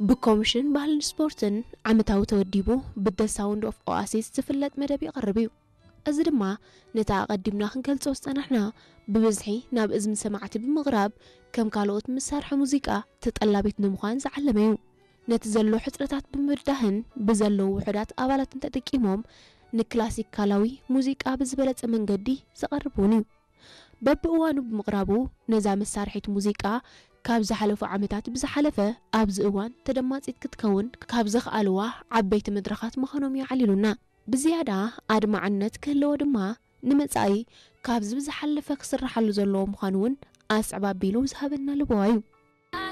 ብኮሚሽን ባህልን ስፖርትን ዓመታዊ ተወዲቡ ብደ ሳውንድ ኦፍ ኦኣሲስ ዝፍለጥ መደብ ይቐርብ እዩ። እዚ ድማ ነቲ ኣቐዲምና ክንገልጾ ዝጸናሕና ብብዝሒ ናብ እዝኒ ሰማዕቲ ብምቕራብ ከም ካልኦት መሳርሒ ሙዚቃ ተጠላቢት ንምዃን ዝዓለመ እዩ። ነቲ ዘሎ ሕጽረታት ብምብዳህን ብዘለዉ ውሑዳት ኣባላትን ተጠቂሞም ንክላሲካላዊ ሙዚቃ ብዝበለጸ መንገዲ ዘቐርብ እውን እዩ። በብእዋኑ ብምቕራቡ ነዛ መሳርሒት ሙዚቃ ካብ ዝሓለፉ ዓመታት ብዝሓለፈ ኣብዚ እዋን ተደማጺት ክትከውን ካብ ዘኽኣልዋ ዓበይቲ መድረኻት ምዃኖም እዩ ዓሊሉና። ብዝያዳ ኣድማዕነት ክህልዎ ድማ ንመጻኢ ካብዚ ብዝሓለፈ ክስርሓሉ ዘለዎ ምዃኑ እውን ኣስዕብ ኣቢሉ ዝሃበና ልበዋ እዩ።